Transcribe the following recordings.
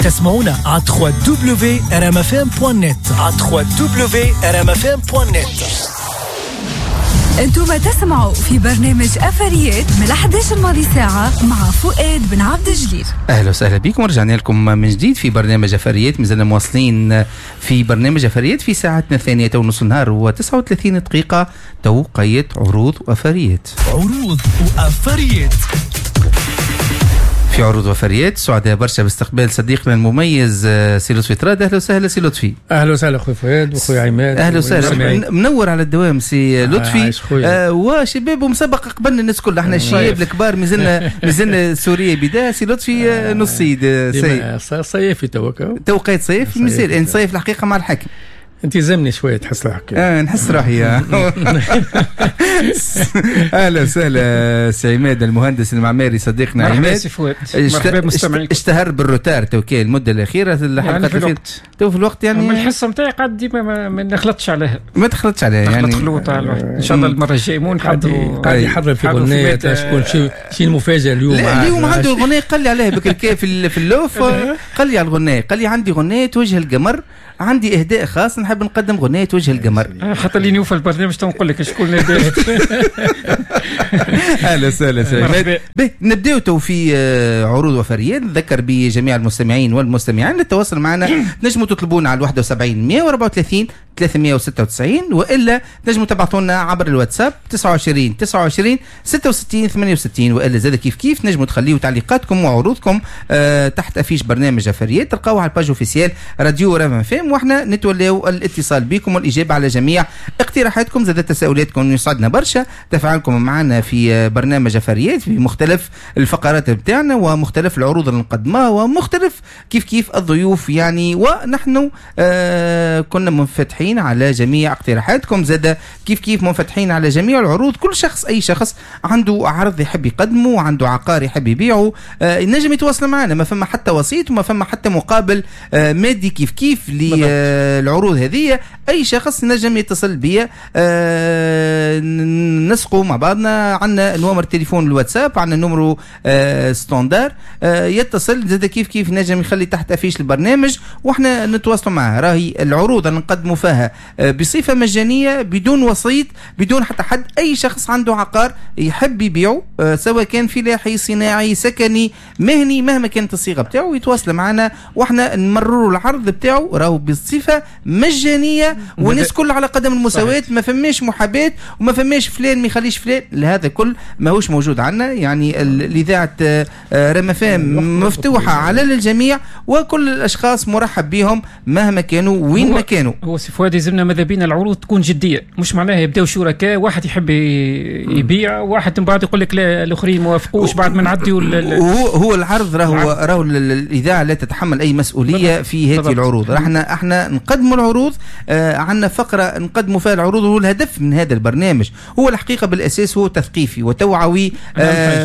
تسمعونا على 3w.rmfm.net، على 3w.rmfm.net. انتم تسمعوا في برنامج أفريات من 11 الماضي ساعة مع فؤاد بن عبد الجليل. اهلا وسهلا بكم، رجعنا لكم من جديد في برنامج أفريات. مازلنا مواصلين في برنامج أفريات في ساعتنا الثانية، تو نص النهار و39 دقيقة، توقيت عروض وأفريات. عروض وأفريات. في عروض وفريات سعداء برشا باستقبال صديقنا المميز سي لطفي تراد. اهلا وسهلا سي لطفي. اهلا وسهلا اخوي فؤاد واخوي عماد. اهلا وسهلا، منور على الدوام سي لطفي. وشباب ومسابقه قبلنا الناس كل، احنا الشباب الكبار مازلنا سوريا بداية. سي لطفي نص صيفي توقيت صيف مازال نصيف الحقيقة مع الحاكم. انت زمني شوية تحس روحك. نحس روحي. اهلا وسهلا سي عماد المهندس المعماري صديقنا عماد. مرحبا سي فؤاد، مرحبا بالمستمعين. اشتهر بال retard توكي المدة الاخيرة، الحلقات يعني تو في الوقت يعني من الحصة نتاعي قاعد ديما ما نخلطش عليها. ما تخلطش عليها يعني خلوط على الواحد. ان شاء الله المرة الجاية مو نحضروا، قاعد يحضر في اغنية شكون شي المفاجاة اليوم. اليوم عنده اغنية قال لي عليها بكركي في اللوف، قال لي على الغنية، قال لي عندي غنية وجه القمر، عندي اهداء خاص نحب نقدم غنية وجه القمر. حتى اللي نوفى البرنامج تنقول لك شكون. اهلا وسهلا سي. نبداو تو في عروض وفريات. نذكر بجميع المستمعين والمستمعين للتواصل معنا، تنجموا تطلبونا على 71 134 396، والا تنجموا تبعثوا لنا عبر الواتساب 29 29 66 68، والا زاد كيف كيف تنجموا تخليوا تعليقاتكم وعروضكم تحت affiche برنامج أفريات، تلقاوها على ال page officielle راديو رام فام، واحنا نتولاو الاتصال بكم والاجابة على جميع اقتراحاتكم زاد تساؤلاتكم. يسعدنا برشا تفاعلكم معنا في برنامج أفريات في مختلف الفقرات بتاعنا ومختلف العروض اللي نقدمها ومختلف كيف كيف الضيوف يعني، ونحن كنا منفتحين على جميع اقتراحاتكم، زاد كيف كيف منفتحين على جميع العروض. كل شخص، اي شخص عنده عرض يحب يقدمه وعنده عقار يحب يبيعه ينجم يتواصل معنا، ما فما حتى وسيط وما فما حتى مقابل مادي كيف كيف للعروض هذه. اي شخص نجم يتصل بيا، نسقوا مع بعضنا، عندنا نمر تليفون الواتساب، عندنا numéro standard، يتصل زاد كيف كيف نجم يخلي تحت affiche البرنامج واحنا نتواصلوا معاه. راهي العروض اللي نقدموا فيها بصفة مجانية بدون وسيط بدون حتى حد. اي شخص عنده عقار يحب يبيعه سواء كان فلاحي صناعي سكني مهني مهما كانت الصيغة بتاعه يتواصل معنا واحنا نمرروا العرض بتاعه، راهو بصفة مجانية والناس كل على قدم المساواة، ما فماش محاباة وما فماش فلان ما يخليش فلان، هذا كل ماهوش موجود عندنا. يعني الاذاعة رام فام مفتوحة على الجميع وكل الاشخاص مرحب بهم مهما كانوا وين ما كانوا. هو سي فؤاد يلزمنا ماذا بينا العروض تكون جدية، مش معناها يبداو شركاء واحد يحب يبيع واحد من بعد يقول لك لا الاخرين ما وافقوش بعد ما نعديوا. هو العرض راهو الاذاعة لا تتحمل اي مسؤولية في هذه العروض. احنا نقدموا العروض، عندنا فقره نقدموا فيها العروض، والهدف من هذا البرنامج هو الحقيقة بالاساس هو تثقيفي وتوعوي،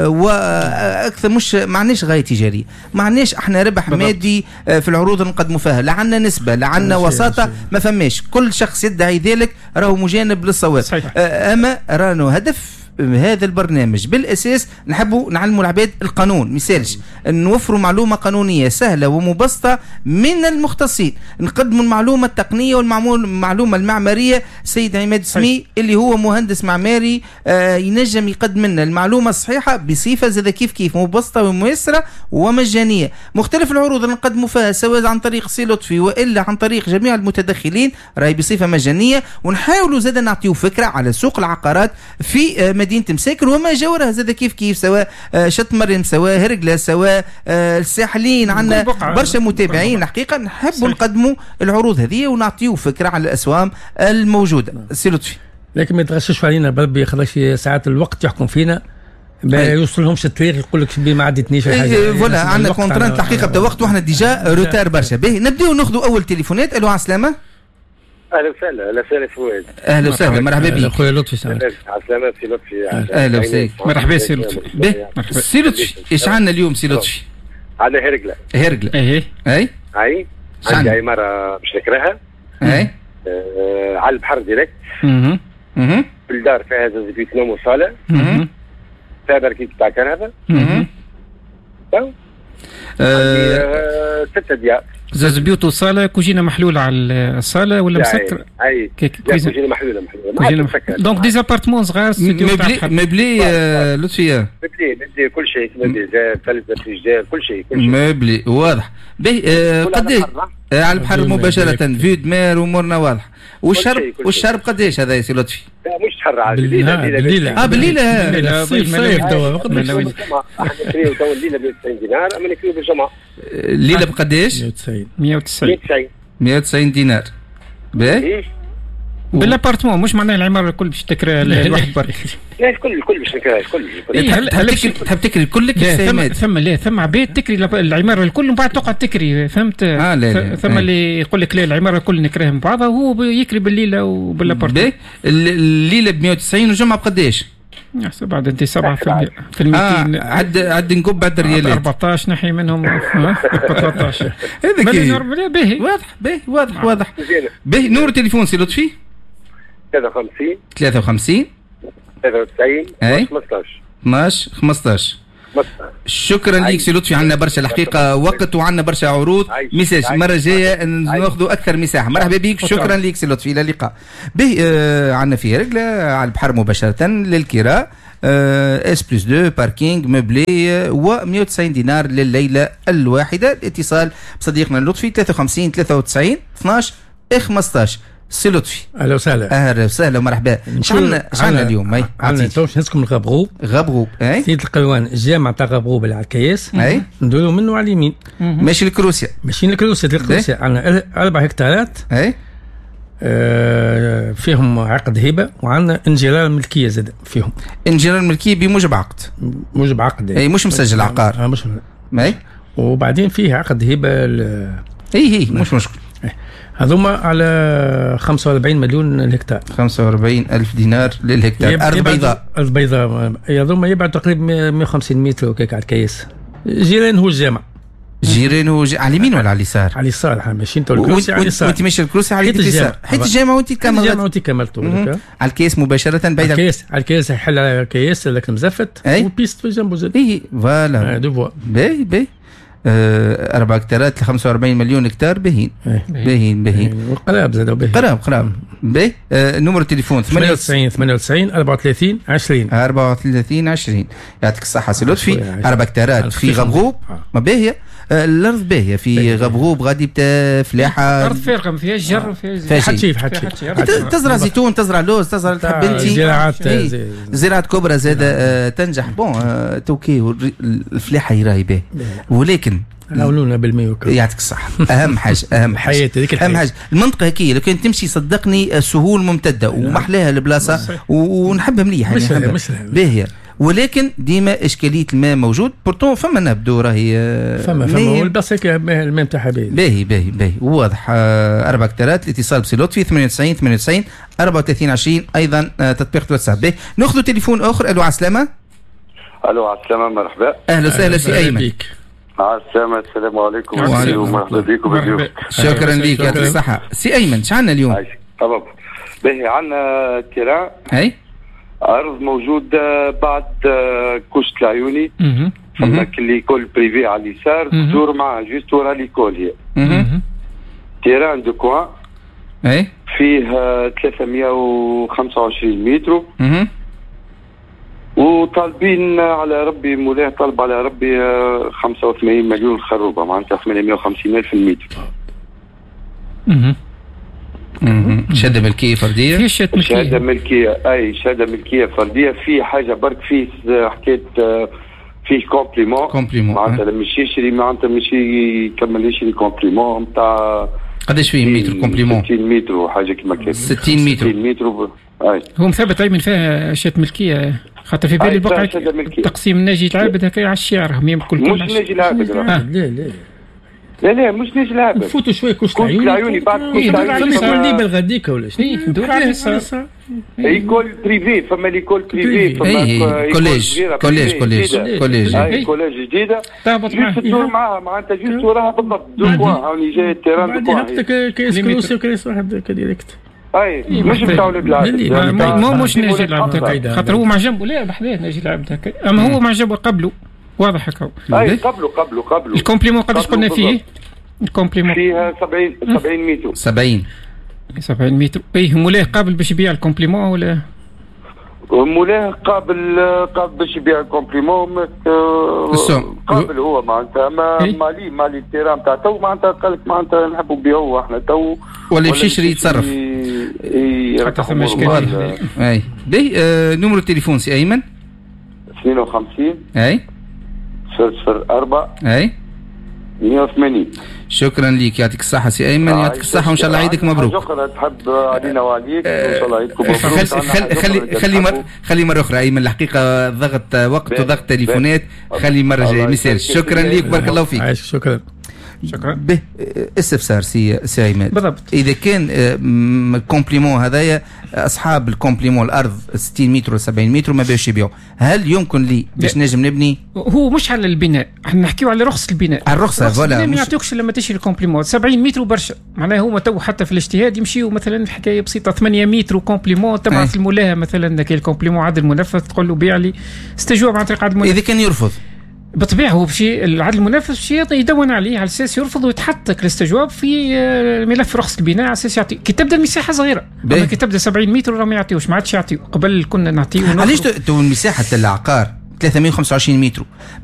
واكثر مش ما عندناش غاية تجارية، ما عندناش احنا ربح مادي في العروض اللي نقدموا فيها، لا عندنا نسبه لا عندنا وساطة، ما فماش. كل شخص يدعي ذلك راهو مجانب للصواب. اما رانو هدف هذا البرنامج بالاساس نحبوا نعلموا العباد القانون، مثالش نوفروا معلومة قانونية سهلة ومبسطه من المختصين، نقدموا المعلومة التقنية والمعلومه المعمارية. سيد عماد سمي اللي هو مهندس معماري ينجم يقدم لنا المعلومة الصحيحة بصفة زاد كيف كيف مبسطة وميسره ومجانيه. مختلف العروض اللي نقدموا فيها سواء عن طريق سي لطفي والا عن طريق جميع المتدخلين راهي بصفة مجانية، ونحاولوا زاد نعطيو فكرة على سوق العقارات في مدينة مساكن وما جاورها زاد كيف كيف، سواء شط مريم سواء هرقلة سواء الساحلين. عندنا برشا متابعين الحقيقة نحبوا نقدموا العروض هذه ونعطيو فكرة على الأسوام الموجودة. سي لطفي لكن ما يتغششوا علينا بربي، خلاص ساعات الوقت يحكم فينا، ما يوصلهمش الطريق يقول لك ما عدتنيش حاجة. voilà عندنا contrainte الحقيقة بدا وقت واحنا déjà retard برشا. باهي نبداو ناخذوا اول تليفونات. الو على السلامة. اهلا وسهلا. اهلا وسهلا فؤاد. اهلا وسهلا، مرحبا بك خويا لطفي. على السلامة سي لطفي. اهلا وسهلا، مرحبا سي لطفي. سي لطفي ايش عندنا اليوم سي لطفي؟ عندنا هرقلة. هرقلة اي اي اي عندي عمارة باش نكرهها اي على البحر direct. الدار فيها زوج بيت نوم وصالة، فيها parking تاع كرهبة. 6 ديار. زوز بيوت وصاله، كوجينه محلولة على الصاله ولا مسكره؟ اي كوجينه محلولة. كوجينه donc des appartements صغار، studio meublé لطفي. meublé كل شيء meublé، تلفزه، فريجيدير، كل شيء meublé واضح. باهي قداش على البحر مباشرة، vue de mer وامورنا واضحة. والشرب قداش هذا يا سي لطفي؟ لا مش شهر عاد، بالليله. بالليله صيف توا. احنا نكريو توا الليلة ب 190 دينار، اما نكريو بالجمعة. الليلة بقداش؟ 190 190 دينار. باهي بال appartement، مش معناها العمارة الكل باش تكرا الواحد برك. لا الكل باش نكرا الكل. تحب تكري الكل؟ ثم لا ثم عباد تكري العمارة الكل ومن بعد تقعد تكري، فهمت؟ لا ثم اللي يقول لك لا العمارة الكل نكريها من بعضها، وهو يكري بالليله وبال appartement. الليلة ب 190 والجمعة بقداش؟ بعد انت 7 في 200. عد نقب بعد الريالات 14 نحي منهم 13. هذا باهي واضح. باهي واضح واضح. باهي نور تليفون سي لطفي. 53 53 93 15 12 15. شكرا لك سي لطفي، عندنا برشا الحقيقة وقت وعندنا برشا عروض. message المرة الجاية ناخذوا اكثر مساحة. مرحبا بك، شكرا لك سي لطفي، الى اللقاء. به عندنا في رجله على البحر مباشرة للكراء، S plus 2 parking meublé و 190 دينار لليلة الواحدة. الاتصال بصديقنا لطفي 53 93 12 15. سي لطفي اهلا وسهلا. اهلا وسهلا ومرحبا. شعنا اليوم؟ عندنا تو باش نهزكم لغبغوب. غبغوب اي سيد القلوان، الجامع تاع غبغوب اللي على الكياس. اي ندوروا منه على اليمين. ماشي لكروسيا. ماشيين لكروسيا. لكروسيا عندنا 4 هكتارات. اي فيهم عقد هبه، وعندنا انجرار ملكية زاد فيهم. انجرار ملكية بموجب عقد. موجب عقد اي مش مسجل عقار. مش اي. وبعدين فيه عقد هبه اي مش مشكل. هذوما على 45 مليون الهكتار. 45 ألف دينار للهكتار. أرض بيضاء. أرض بيضاء. هذوما يبعد تقريبا 150 متر وكاك على الكياس. جيران هو الجامع. جيران هو على اليمين ولا على اليسار؟ على اليسار، احنا ماشيين تو الكروسي على اليسار. وانت ماشي الكروسي على اليسار. حيت الجامع وانت كملت. الجامع وانت كملت. على الكياس مباشرة بعيد. الكياس على الكياس، يحل على الكياس هذاك المزفت. وال piste في جنبه زاد. اي voilà. deux voies. باهي باهي. 4 هكتارات ل 45 مليون هكتار. باهين باهين باهين. وقراب زاد باهين. قراب قراب. باهي. numéro التليفون 98 98 34 20 34 20. يعطيك الصحة سي لطفي. 4 هكتارات في غبغوب. ما باهية الأرض، باهية في غبغوب غادي فلاحة. أرض فارغة ما فيهاش جر، فيها حتى شيء. تزرع زيتون، تزرع لوز، تزرع تحب انت. زراعات زراعات كبرى زاد تنجح. bon توكي الفلاحة راهي باهية، ولكن عاونونا بالماء. يعطيك الصحة. أهم حاجة أهم حاجة أهم حاجة المنطقة هكي لو كان تمشي صدقني سهول ممتدة ومحلاها البلاصة ونحبها مليح يعني باهية، ولكن ديما إشكالية الماء موجود. pourtant فما نبدو راهي فما والبلاصة هيك الماء نتاعها باهي باهي باهي باهي واضح. 4 هكتارات. الاتصال بسي لطفي 98 98 34 20. أيضا تطبيق واتساب. باهي ناخذ تليفون آخر. ألو عسلامة. ألو عسلامة، مرحبا. أهلا وسهلا سي أيمن. عسلامة، السلام عليكم ومرحبا بكم. شكرا لك، يعطيك الصحة. سي أيمن شعنا اليوم؟ تمام باهي. عندنا terrain أي أرض موجودة بعد كوشة العيوني. فما l'école privée على اليسار، تدور معها juste ورا l'école هي. terrain de coin أي فيه 325 متر. وطالبين على ربي مولاه طالب على ربي 85 مليون خروبه، معناتها 850 الف المتر. شهادة ملكية فردية. في شهادة ملكية. شهادة ملكية اي شهادة ملكية فردية. في حاجة برك فيه حكاية فيه complément. complément معناتها لما يشري معناتها مش يكمل يشري complément نتاع قداش فيه متر complément؟ 60 متر وحاجه كيما كان. 60 متر. 60 متر اي. هو مثبت ايمن فيها شهادة ملكية، خاطر في بالي البقعة تقسيم ناجي العابد هكا على الشعر هم يمكن مش ناجي العابد. لا لا لا لا مش ناجي العابد. فوتوا شوية كوش العيوني بعد كوش العيوني فما بالغديك ولا شنو؟ دور على اليسار. école privée، فما l'école privée، فما collège collège collège collège اي collège جديدة تهبط معاها تدور معاها معناتها juste وراها بالضبط deux coins. هاوني جاي ال terrain deux coins هبطك كيس كروسي وكيس واحد direct. اي مش بتاع ولاد العابد. مش ناجي العابد خاطر هو مع جنبه. لا بحذاه ناجي العابد هكا، اما هو مع جنبه قبله واضح هكا. اي قبله قبله قبله. ال complément قداش قلنا فيه؟ ال complément فيها 70 متر. 70 متر. اي مولاه قابل باش يبيع ال complément ولا؟ مولاه قابل باش يبيع ال complément، قابل هو معناتها ما مالي ال terrain تاع تو معناتها قال لك معناتها نحبوا نبيعوه احنا تو ولا يمشي يشري يتصرف. حتى ثم اشكالية. اي باهي، numéro التليفون سي ايمن؟ 52 اي 004 اي 180. شكرا ليك، يعطيك الصحة سي أيمن، يعطيك الصحة وإن شاء الله عيدك مبروك. شكرا، تحب علينا وعليك وإن شاء الله عيدكم مبروك. خلي خلي مرة أخرى أيمن، الحقيقة ضغط وقت وضغط تليفونات، خلي مرة جاية مثال. شكرا ليك، بارك الله فيك. شكرا. شكرا. به استفسار سي عماد. بالضبط. اذا كان ال complément هذايا، اصحاب ال complément الارض 60 متر و 70 متر ما باش يبيعوا، هل يمكن لي باش نجم نبني؟ هو مش على البناء، احنا نحكيو على رخصه البناء. على الرخصة voilà. ما يعطيوكش لما تشري ال complément 70 متر برشا، معناها هما تو حتى في الاجتهاد يمشيو مثلا حكاية بسيطة 8 متر complément، تبعث المولاها مثلا كي ال complément عدل منفذ تقول له بيع لي، استجواب عن طريق عدل منفذ. اذا كان يرفض بالطبيعة هو بشي العدل المنفذ باش يدون عليه على اساس يرفض ويتحط الاستجواب في ملف رخصه البناء على اساس يعطي. كي تبدا المساحة صغيرة، اما كي تبدا 70 متر راه ما يعطيوش، ما عادش يعطيو. قبل كنا نعطيو. علاش تو مساحة العقار 325 متر؟